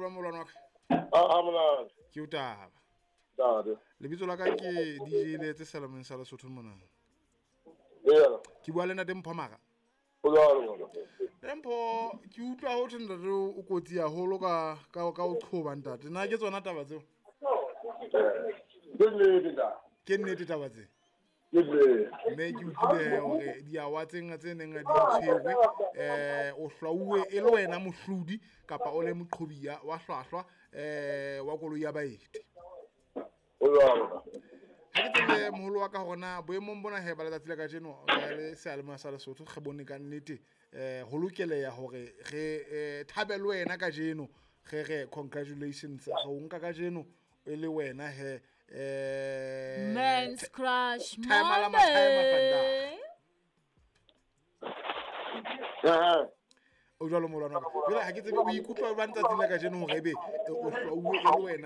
jwang molwane wa ka? A monate. Ke o taba. Ntate. Lebitso la ka ke DJ Letse Selameng sa Lesotho mona. Eya. Ke bua le ntate Mpho Mara. O jwalo ngwana. Ntate Mpho, ke utlwa ho thwe ntate o kotsi haholo ka ka ka o qhoba ntate. Na ke tsona taba tseo? Ke nnete ntate. Ke nnete taba tse? Ke nnete. Mme ke utlwile hore diawa tse nga tse neng di tshwerwe o hlwauwe e le wena mohlodi kapa o le moqhobi wa hlwahlwa wa koloi ya baeti. O jwalo. Ha ke tsebe moholo wa ka hore na boemong bona he ba letsatsi la kajeno re le seyalemoya sa Lesotho re bone ka nnete ho lokeleha hore re thabe le wena kajeno, re re congratulations, re o nka kajeno e le wena he Men's Crush Timer la matime Monday. Eh. O jwalo molwana wa ka. Jwale ha ke tsebe o ikutlwa jwang tsatsing la kajeno hore ebe o hlwauwe e le wena.